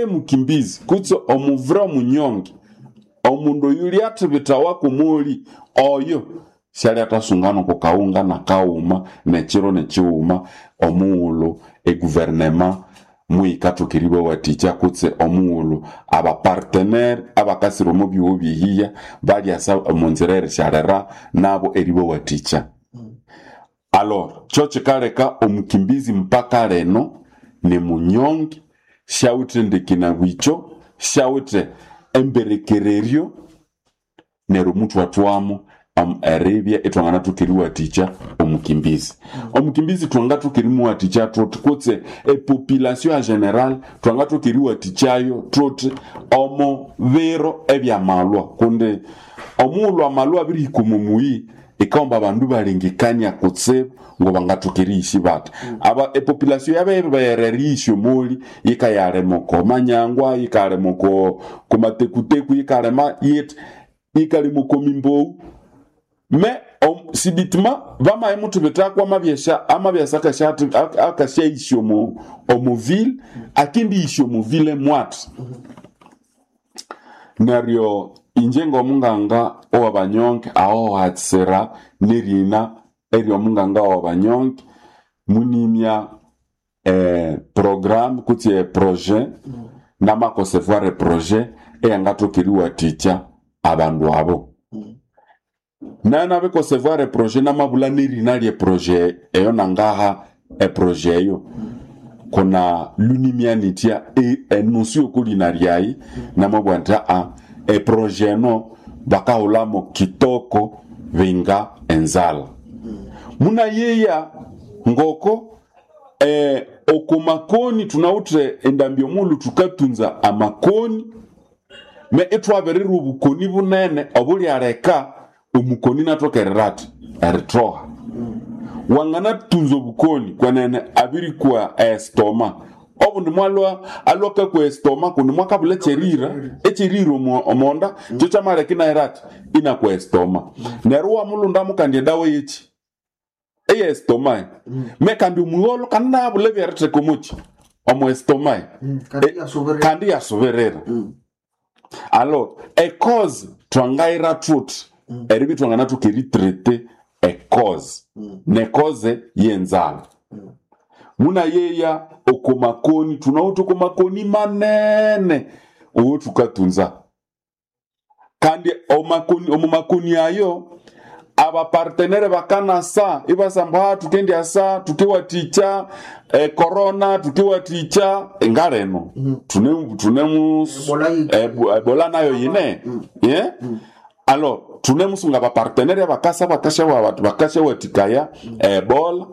Mukimbizi kutse omuvure omunyonge, omundu oyu lyathibithawa kw'omoli oyo syalyathasungana oko kawunga nakaghuma nekiro nekighuma omughulhu eguverinema muyikathoka eribawathikya kutse omughulhu abapartenere abakasira omo byogho byehiya balyasa omunzira erisyalira nabo eribawathikya. Alors kyo kikaleka omukimbizi mpaka leno ni munyonge, syawithe ndekina bwikyo, syawithe emberekereryo, neryo muthwathwamo eribya ithwanganathoka eriwathikya omukimbizi. Omukimbizi thwangathoka erimuwathikya thuthi kutse epopulation ya general thwangathoka eriwathikyayo thuthi omo biro ebyamalwa, kundi omughulhu amalwa abirihika omo muyi ikaomba abandu balengekania kutsibu ngobangathoka eriyisya bathi. Aba epopulation yabiribeghera eriyisya omoli yikayalima oko manyangwa, yikalima oko komatekuteku, yikalima yithi, yikalima oko mimbowu. Me sibitima bamayimuthibithako amabyesha amabyasa akasyayisya omo omuville, akendiyisya omuville mwathi. Neryo inje ng'omunganga owabanyonge aho hatsira nerina ery'omunganga owabanyonge munimya program kutse eprojet namaconcevoir eprojet eyangathoka eriwathikya abandu abo. Nayo nabiconcevoir eprojet namabulha nerina lyeprojet eyo nangaha eprojet eyo kuna lunimya nithya enusu yokolina lyayi namabugha nthi eprojet eno bakahulhamu kitoko binga enzalha. Munayeya ngoko oko makoni thunawithe endambi omughulhu thukatunza amakoni me ithwabirirwa obukoni bunene obulyaleka omukoni inathoka erirathi erithoha. Wanganathunza obukoni kwenene abirikwa estoma, obundi mwalwa alwa akakwa estoma kundi mwakabulha ekyerira ekyerira omonda kyo kyamaleka inahera athi inakwa estoma. Neryo iwamulhundamu kandi edawa yekyi eye estoma me kandi omugholo kandi nayabulha ebyeritheka omokyi omo estoma Kandi yasubirira. Kandi yasubirira. Alors ecause twangayira thuthi eribya ithwanganathoka eritrete ecause necause yenzalha. Munayeya oko makoni thunawithe oko makoni manene owothukatunza kandi omakoni omu makoni ayo abapartenere bakanasa ibasamba thukendyasa thukiwathikya ecorona thukiwathikya ngaleno thune thune Ebola yike. Ebola nayo yine yeah? Alors thunemusunga abapartenere bakasa bakasyawathikaya ebola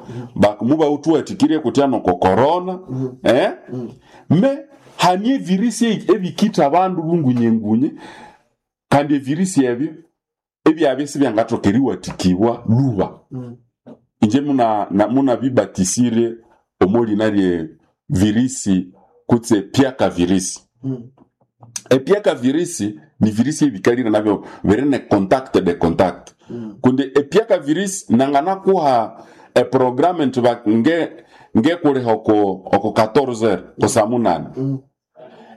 mubawuthuwathikirye kutya noko corona me hanie evirisi ebikitha abandu bungunyengunye kandi evirisi ebyo ebyabya sibyangathoka eriwathikibwa lhuba. Inje munabibatisirye omolina lye virisi kutse pyaka virisi. Epiaka virisi ni virisi ebikalire nabyo biri ne contact de contact. Kundi epiaka virisi nanganakuha eprogramu nti ngekuliha oko oko 14h ko saa munane.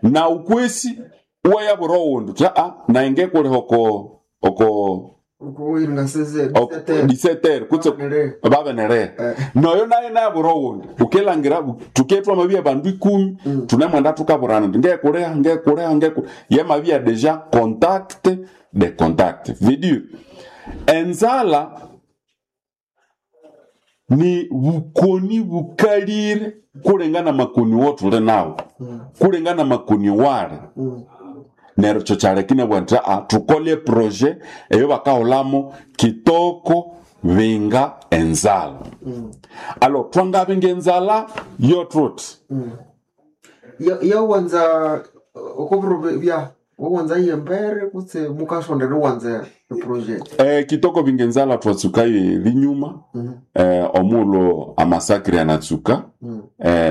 Na ukwesi iwayabwira owundi wuthi nayi ngekuliha oko oko 17h kutse babenere. Noyo naye nayabwira owundi wukelhangira thuke thwamabya abandu ikumi thunemwenda thukaburana indi ngekuliha ngekuliha ngekuliha yamabya deja contact de contact. Veut dire enzalha ni bukoni bukalire kulenga namakoni wothuli nawu, kulenga namakoni wali. Neryo kyo kyaleka inabugha nthi thukole eprojet eyo bakahulhamu kitoko binga enzalha. Alors twangabinga enzalha yothuthi Yawanza okobiro bya wawanza yembere kutse mukasondera wanza eproject. Kitoko binga enzalha thwatsukayo erinyuma omughulhu amasakiri anatsuka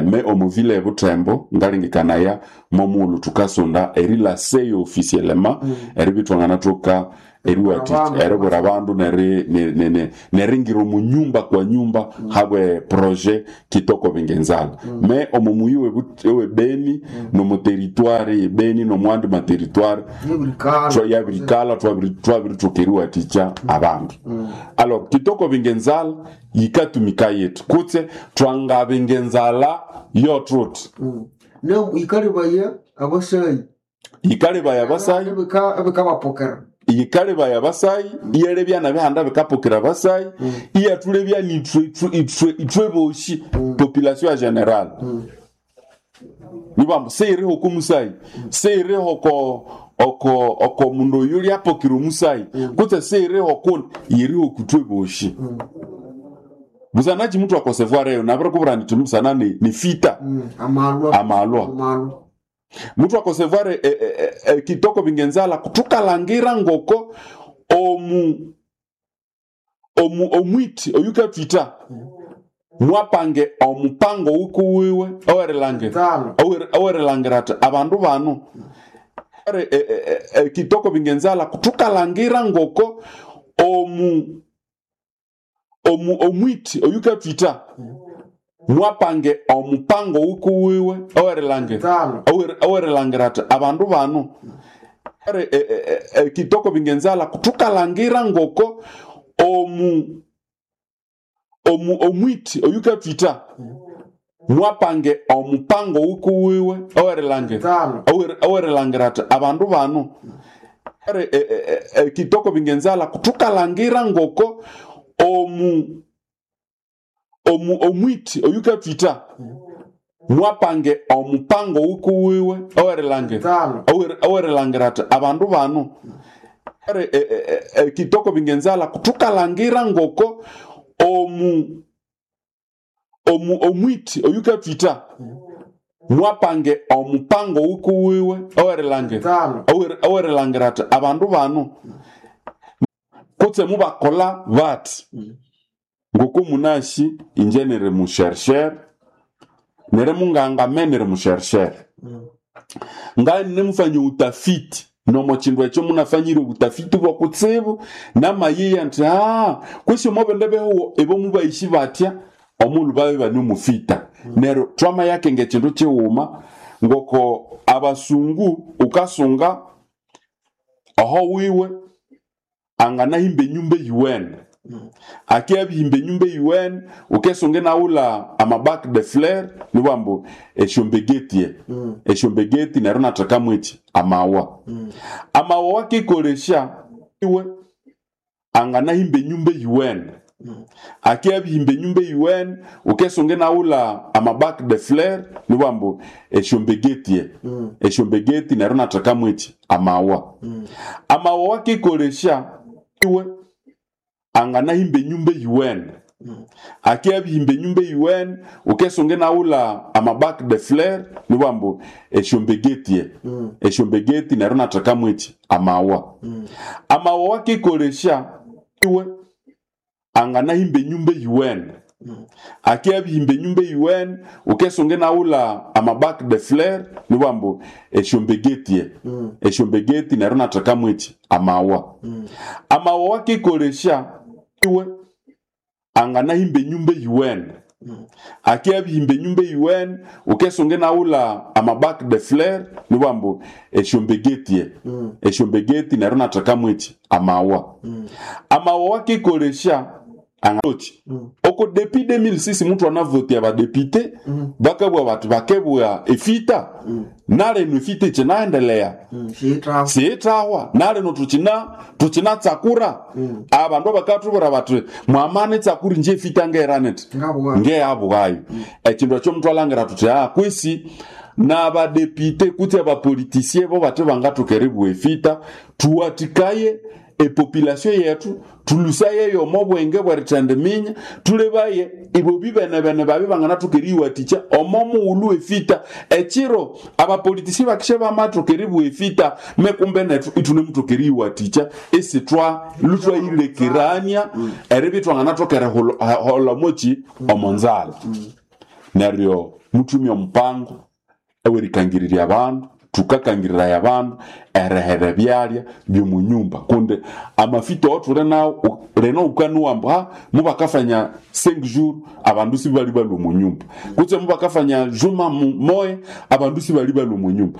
me omuvile ebuthembo ngalengekanaya momughulhu thukasonda erilaseyo officiellement eribya ithwanganathoka eriwathikya eribwira abandu neringira omu nyumba kwa nyumba habwe projet Kitoko Bingenzala. Me omu muyi webeni nomu territoire yebeni nomwandi materitoire yabirikala twabiritoka eriwathikya abandu. Alors Kitoko Bingenzala yikatumika yetu kutse twangabingenzala yotruti. Yikalebaya abasayi. Yikalebaya abasayi. Ebikabapokera. Yikalebaya abasayi, iyalebya nabihanda bikapokera abasayi, iyatulebya ithwe boshi population ya general. Nibambu seiriho oko musayi, seiriho oko mundu oyu lyapokera omusayi, kutse seiriho kundi, yiriho kutwe boshi. Busana chimutu akosevoir eyo nabirikubwira nti musana ni fita. Amalwa. Mutu akosevoir Kitoko Bingenzala tukalangira ngoko omwiti oyukatwita mwapange omupango wukuwiwe owerilhangira ati abandu bano Kitoko Bingenzala tukalangira ngoko omwiti oyukatwita mwapange omupango wukuwiwe owerilhangira ati abandu bano Kitoko Bingenzala tukalangira ngoko omwiti oyukatwita mwapange omupango wukuwiwe owerilhangira ati abandu bano Kitoko Bingenzala tukalangira ngoko omwiti oyukatwita mwapange omupango wukuwiwe owerilhangira ati abandu bano Kitoko Bingenzala tukalangira ngoko omwiti oyukatwita mwapange omupango wukuwiwe owerilhangira ati abandu bano kutse mubakola bati ngoko munashi inje niri mushersher niri munganga me niri mushersher ngani nemufanya utafiti nomo chindu ekyo munafanyire obutafiti bwakutsibu namayiya nti kwesi omobende behuwo ebo mubaishi batya omulu babe bane mufita. Neryo twamayakenge ekindu kighuma ngoko abasungu ukasunga oho wiwe anganahimba enyumba eyiwene akyabihimba enyumba eyiwene ukesunga inawula amabac de fleur nibambu esyombegeti esyombegeti neryo inathekamu eki amawa. Amawa wakikolesya iwe anganahimba enyumba eyiwene akyabihimba enyumba eyiwene ukesunga inawula amabac de fleur nibambu esyombegeti esyombegeti neryo inathekamu eki amawa. Amawa wakikolesya iwe anganahimba enyumba eyiwene akyabihimba enyumba eyiwene ukesunga inawula amabac de fleur nibambu esyombegeti esyombegeti neryo inathekamu eki amawa. Amawa wakikolesya iwe anganahimba enyumba eyiwene akyabihimba enyumba eyiwene ukesunga inawula amabac de fleur nibambu esyombegeti esyombegeti neryo inathekamu eki amawa. Amawa wakikolesya iwe anganahimba enyumba eyiwene akyabihimba enyumba eyiwene ukesunga inawula amabac de fleur nibambu esyombegeti esyombegeti neryo inathekamu eki amawa. Amawa wakikolesya oko depuis 2006 mutu anavotia badepite bakabwa bati bakebwa efita naleno efita ikinaendelea siitahwa naleno tukina tsakura abandu bakatubwira bati mwamana etsakura inje efita ngeraneti ngeyabwayo. Ekindu ekyo omuntu alangira tuti kwisi n'abadepite kutse abapolitisie bo bati bangathoka eribugha efita tuwatikaye epopulation yetu tulusayeyo omo bwenge bwerithendiminya tulebaye ibo bibene-bene babi banganathoka eriyiwathikya omo mughulhu efita. Ekiro abapolitisi bakisya bamathoka eribugha efita mekumbe nethu ithunemuthoka eriyiwathikya isithwa lhuthwayilekerania eribya ithwanganathoka eriholha moki omo nzalha. Neryo muthumye omupango ewerikangirirya abandu. Tukakangirira abandu erehera ebyalya by'omunyumba, kundi amafito otule nawo leno ukanuwa mbu ha mubakafanya 5 jours abandu sibali balwa omunyumba, kutse mubakafanya juma moya abandu sibali balwa omunyumba.